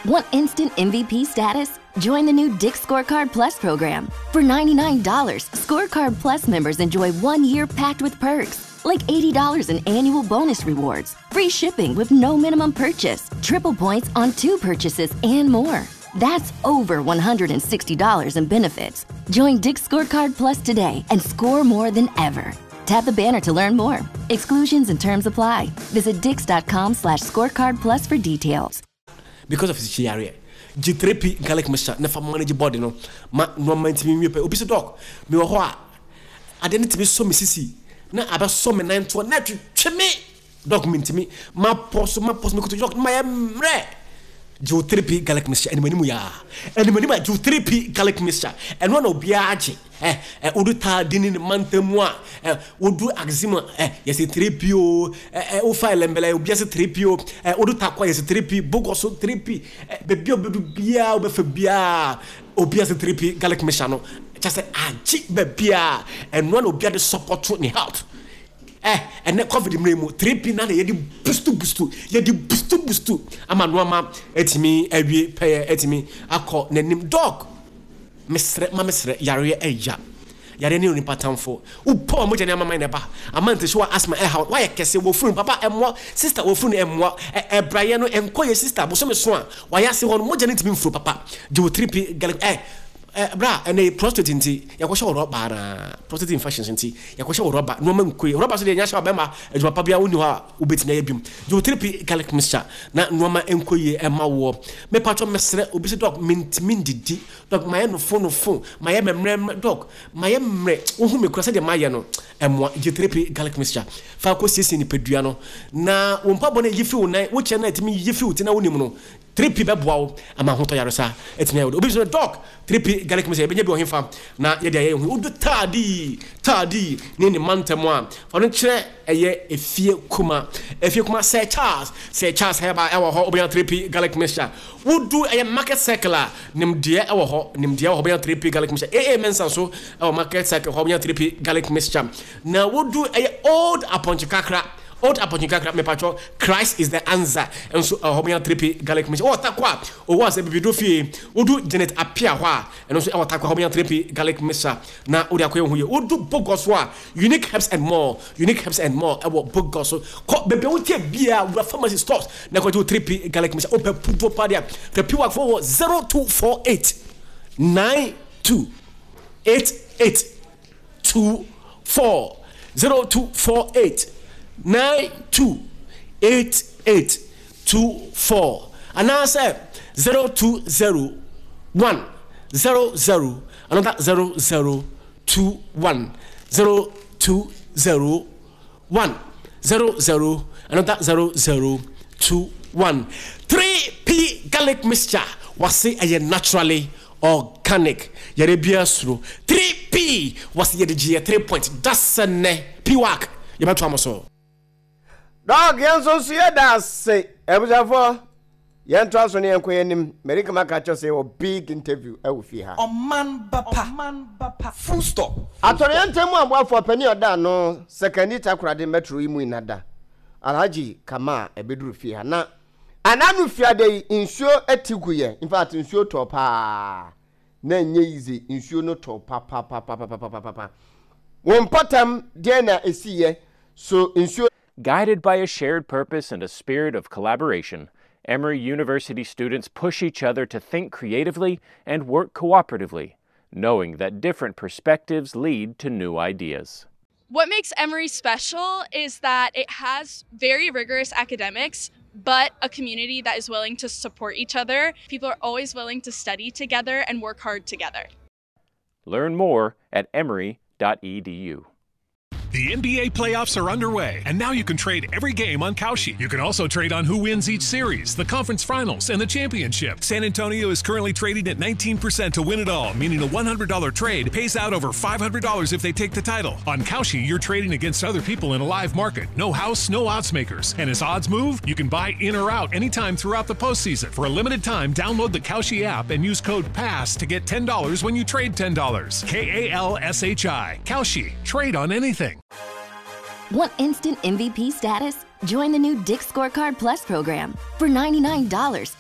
Want instant MVP status? Join the new Dick's Scorecard Plus program. For $99, Scorecard Plus members enjoy 1 year packed with perks, like $80 in annual bonus rewards, free shipping with no minimum purchase, triple points on two purchases, and more. That's over $160 in benefits. Join Dick's Scorecard Plus today and score more than ever. Tap the banner to learn more. Exclusions and terms apply. Visit dicks.com/scorecardplus for details. Because of sikyi yareɛ, gye 3P garlic mixture na fa manage body no ma nnoɔma ntumi nwie pɛ. Obi sɛ, "Doc, mewɔ hɔ a, adeɛ no tumi sɔ me sisi na abɛsɔ me nan toɔ na ɛtwetwe me. Doc, mentumi mapɔ so, mapɔ so, mekoto, Doc, mayɛ mmerɛ." Gye wo 3P garlic mixture anim anim yaa anim anim a. Gye wo 3P garlic mixture, ɛno na obiara gye. Ɛ ɛ wodu Taadi ne ne mantam mu a, ɛ wodu Axim a, ɛ yɛsɛ 3P o. Ɛ ɛ wofa Ellembelle, obiara sɛ 3P o. Ɛ wodu Tarkwa, yɛsɛ 3P. Bogoso, 3P. Ɛ beebi a obedu biara, wobɛfa biara, obiara sɛ 3P garlic mixture no kyɛ sɛ agye baabiara. Ɛno na obiara de support ne health. Ɛ ɛnɛ COVID mmerɛ mu, 3P na yɛde boost boost, yɛde boost boost ama nneɛma atumi awie pɛyɛ, atumi akɔ n'anim. Doc, mesrɛ ma mesrɛ, yareɛ ɛya, yareɛ ne onipa tamfo. Wopɔ a mogya ne amaman na ɛba ama nti so a asthma ɛha wayɛ kɛse wɔ funu. Papa, ɛmmoa. Sister, wɔ funu ɛmmoa. Ɛbrayɛ no ɛnkɔ yɛ. Sister, bosome so a wayɛ ase hɔ no, mogya no ntumi mfuro. Papa, gye wo 3P garlic. Ɛ ɛ bra, ɛnɛ prostate nti yɛkɔhyɛ wɔ rɔba na prostate infections nti yɛkɔhyɛ wɔ rɔba. Nneɛma nkɔ yi rɔba so deɛ, nyɛ hyɛ ɔbɛma adwuma pa biara wonni hɔ a wobɛtumi ayɛ biom. Gye wo 3P garlic mixture na nneɛma nkɔ yie ɛma woɔ. Mepatwɔ, mesrɛ, obi sɛ, "Doc, mentumi ndidi. Doc, mayɛ nofo nofo, mayɛ mɛmrɛmrɛ. Doc, mayɛ mmerɛ. Wohu me kura sɛdeɛ mayɛ no." Ɛmmoa. Gye 3P garlic mixture fa kɔ siesie nipadua no na wo mpabɔ no yi firi wo nan, wokyɛ no a ɛtumi yi firi wo ti na wonim no. 3P bɛboa wo ama ahotɔ yaresa ɛtumi ayɛ wo de. Obi sɛ, "Doc, 3P garlic mixture, yɛbɛnya bi wɔ hefa na yɛde ayɛ yɛn ho?" Wodu Taadi, Taadi ne ne mantam a, fa no kyerɛ ɛyɛ Efie Kuma, Efie Kuma, Sir Charles, Sir Charles Herbal ɛwɔ hɔ, wobɛnya 3P garlic mixture. Wodu ɛyɛ Market Circle a, nimdeɛ ɛwɔ hɔ, nimdeɛ wɔ hɔ, wobɛnya 3P garlic mixture. Aa Mensa nso ɛwɔ Market Circle hɔ, wobɛnya 3P garlic mixture. Na wodu ɛyɛ Old Apɔnkye Kakra, Old Apɔnkye Kakra, mepatwɔ, Christ Is The Answer nso ɛwɔ hɔ, wobɛnya 3P garlic mixture. Wɔwɔ Tarkwa a, owó asɛ bibido fie, wodu Janet Apia hɔ a, ɛno nso ɛwɔ Tarkwa hɔ, wobɛnya 3P garlic mixture na wode akɔyɛ wo ho yie. Wodu Bogoso a, Unique Herbs and More, Unique Herbs and More ɛwɔ Bogoso. Kɔ baabi a wotie biara, wura pharmacy stores na kɔgye wo 3P garlic mixture. Wopɛ puduo pa deɛ, fɛ piwak fo wɔ 0248 92 88 24, 0248 92 88 24, anaasɛ 0201 00 another 00 21, 0201 00 another 00 21. 3P garlic mixture wase ɛyɛ naturally organic, yɛrɛ biara suro 3P wase yɛde gye yɛ 3 point dasɛ nnɛ piwak yɛbɛto amo so. Doc, yɛn nso nso yɛda ase. Abusuafoɔ, yɛntoa so ne yɛnkɔ yɛn anim. Mary kama ka kyerɛ sɛ yɛwɔ big interview ɛwɔ fie ha. Ɔman ba pa. Full stop. Atɔreɛntɛm mu aboafoɔ panin a ɔda ano Sekandi Takoradi Metro yi mu inada Alhaji Kama a ɛbɛduru fie ha na ananu fiada yi, nsuo ati gu yɛ. In fact, nsuo tɔ paa na ɛnyɛ easy. Nsuo no tɔ papapapapapapa. Wɔn mpɔtam deɛ na ɛsiiɛ so nsuo Guided by a shared purpose and a spirit of collaboration, Emory University students push each other to think creatively and work cooperatively, knowing that different perspectives lead to new ideas. What makes Emory special is that it has very rigorous academics, but a community that is willing to support each other. People are always willing to study together and work hard together. Learn more at emory.edu. The NBA playoffs are underway, and now you can trade every game on Kalshi. You can also trade on who wins each series, the conference finals, and the championship. San Antonio is currently trading at 19% to win it all, meaning a $100 trade pays out over $500 if they take the title. On Kalshi, you're trading against other people in a live market. No house, no odds makers. And as odds move, you can buy in or out anytime throughout the postseason. For a limited time, download the Kalshi app and use code PASS to get $10 when you trade $10. Kalshi. Kalshi. Trade on anything. Want instant MVP status? Join the new Dick's Scorecard Plus program. For $99,